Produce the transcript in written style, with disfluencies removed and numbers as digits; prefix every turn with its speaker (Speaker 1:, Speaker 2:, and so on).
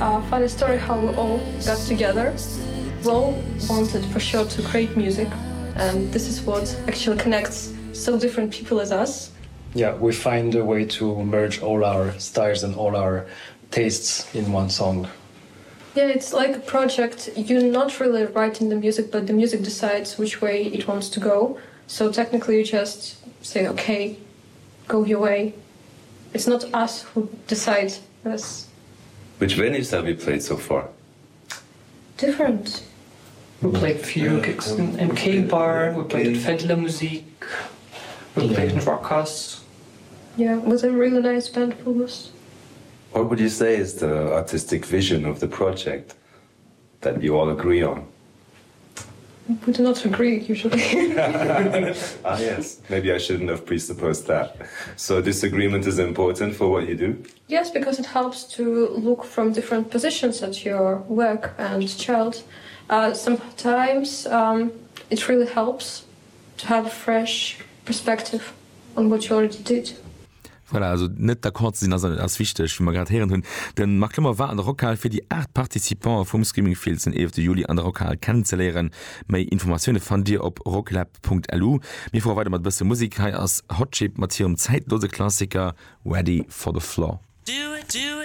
Speaker 1: A funny story how we all got together. We all wanted for sure to create music and this is what actually connects so different people as us.
Speaker 2: Yeah, we find a way to merge all our styles and all our tastes in one song.
Speaker 1: Yeah, it's like a project. You're not really writing the music, but the music decides which way it wants to go. So technically you just say, okay, go your way. It's not us who decide this.
Speaker 3: Which venues have you played so far?
Speaker 1: Different.
Speaker 4: We played few gigs in MK bar, we played at Fedler Musik, we played in Rockers.
Speaker 1: Yeah, it was a really nice band for us.
Speaker 3: What would you say is the artistic vision of the project that you all agree on?
Speaker 1: We do not agree usually.
Speaker 3: ah, yes, maybe I shouldn't have presupposed that. So disagreement is important for what you do?
Speaker 1: Yes, because it helps to look from different positions at your work and child. Uh, sometimes um, it really helps to have a fresh perspective on what you already did.
Speaker 5: Voilà, also net d'accord ze sinn ass ass wichteg, wéi mer grad héieren hunn. De Marc Clement war an der Rockhal fir déi 8 Participante vum Screaming Fields den 11 Juli an der Rockhal kennenzeléieren. Méi Informatioune fannt Dir op rocklab.lu. Mir fuere weider mat e bësse Musek. Hei ass Hot Chip mat hirem zäitlose Klassiker Ready for the Floor.